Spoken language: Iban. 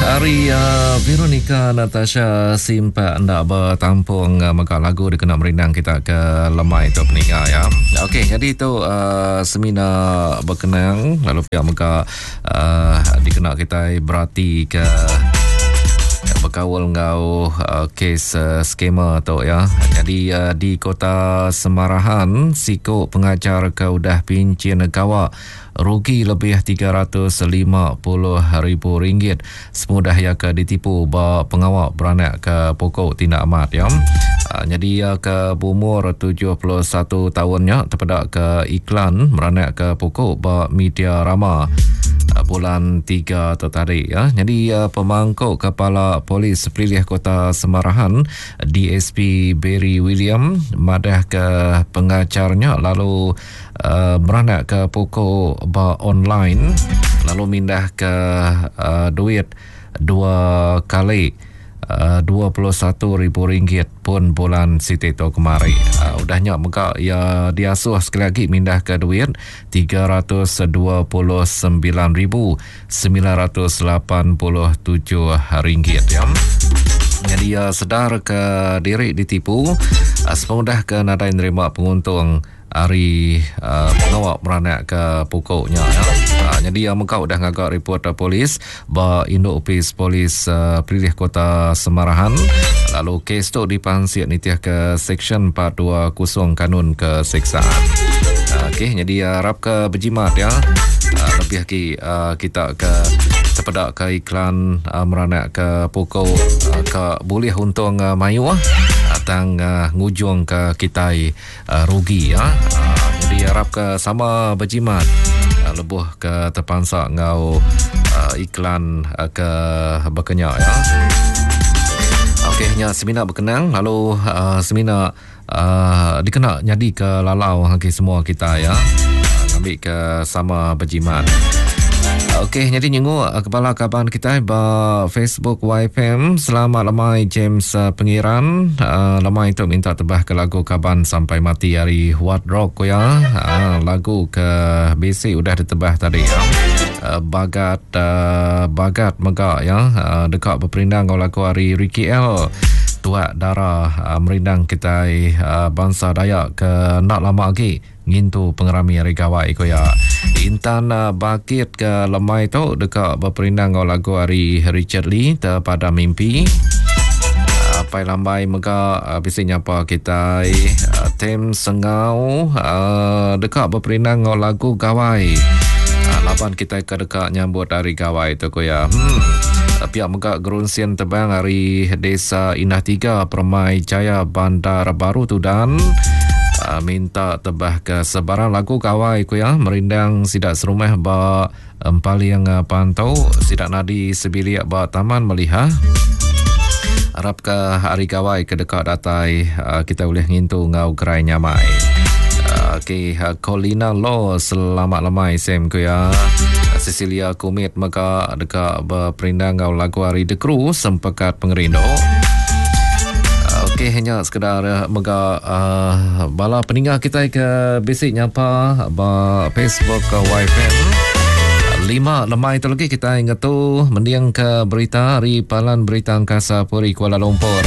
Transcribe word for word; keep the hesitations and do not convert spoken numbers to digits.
Ari uh, Veronica Natasha Simpak enda bertampung uh, mega lagu dikena merindang kita ke lemai tu peninga ya. Okey, jadi tu uh, semina berkenang lalu pihak mega uh, dikena kita berarti ke berkaul ngau uh, kes uh, skema tu ya. Jadi uh, di Kota Semarahan siko pengajar ke udah pincin gawa rugi lebih tiga ratus lima puluh ribu ringgit semudah ia ke ditipu ba pengawak beranak ke pokok tindak amat ya. Uh, jadi ia ke berumur tujuh puluh satu tahunnya terpedak ke iklan beranak ke pokok ba media rama bulan tiga tu tadi ya. Jadi uh, pemangkuk kepala polis Pelilih Kota Semarahan D S P Barry William madah ke pengacarnya lalu uh, beranak ke pokok ba online lalu mindah ke uh, duit dua kali uh, dua puluh satu ribu ringgit pun bulan Siti tu kemari. Uh, udahnya mega ia diasuh sekali lagi mindah ke duit tiga ratus dua puluh sembilan ribu sembilan ratus lapan puluh tujuh ringgit ya. Jadi ia sedar ke diri ditipu uh, sepengudah ke nadai nerima penguntung hari uh, pengawak beranak ke pokoknya ya. Uh, jadi yang mengkau dah ngagak report uh, polis ba Induk Opis Polis uh, Pelilih Kota Semarahan lalu kes tu dipansiat nitiah ke Seksyen empat dua kosong Kanun Keseksaan. Uh, okey, jadi uh, harap ke berjimat ya. Uh, lebih lagi uh, kita ke sepedak ke iklan uh, meranak ke pokok uh, ke boleh untung uh, mayu uh, tang uh, ngujung ke kita uh, rugi ya. Uh, jadi harap ke sama berjimat uh, lebuh ke terpansak ngau uh, iklan uh, ke berkenyak ya. Okey, nya semina berkenang lalu uh, semina uh, dikena jadi ke lalau hagi semua kita ya. Uh, ambil ke sama berjimat. Okey, jadi nyenguk kepala kaban kita ba Facebook Y F M. Selamat lemai James uh, Pengiran. Uh, lemai tu minta tebah ke lagu Kaban Sampai Mati hari What Rock ya. Uh, lagu ke B C udah ditebah tadi ya. Uh, bagat uh, bagat megak ya. Uh, dekat berperindang kau lagu hari Ricky L. Tuak darah uh, merindang kita uh, bangsa Dayak ke nak lama lagi ngintu pengerami hari gawai ko ya. Intan uh, bakit ke lemai tu dekat berperindang ngau lagu hari Richard Lee terpada mimpi. Uh, Pai lambai mega uh, bisi nyapa kita uh, tem sengau uh, dekat berperindang ngau lagu gawai. Uh, laban kita ke dekat nyambut hari gawai tu ko ya. Hmm. Pihak megak gerunsian tebang hari Desa Indah tiga Permai Jaya Bandar Baru Tudan uh, minta tebah ke sebarang lagu gawai ku ya merindang sidak serumah ba empaling pantau sidak nadi sebiliak ba Taman Melihah. Harap ke hari gawai ke dekat datai uh, kita boleh ngintu ngau gerai nyamai. Uh, Okey, uh, Colina Law selamat lemai Sam ku ya. Cecilia Kumit mega dekat berperindang ngau lagu hari The Crew Sempekat Pengerindu. Okey, hanya sekedar mega uh, bala peninggal kita ke basic nyapa ba Facebook ke Y F M. Lima lemai tu lagi kita ingat tu mendiang ke berita hari Palan Berita Angkasa Puri Kuala Lumpur.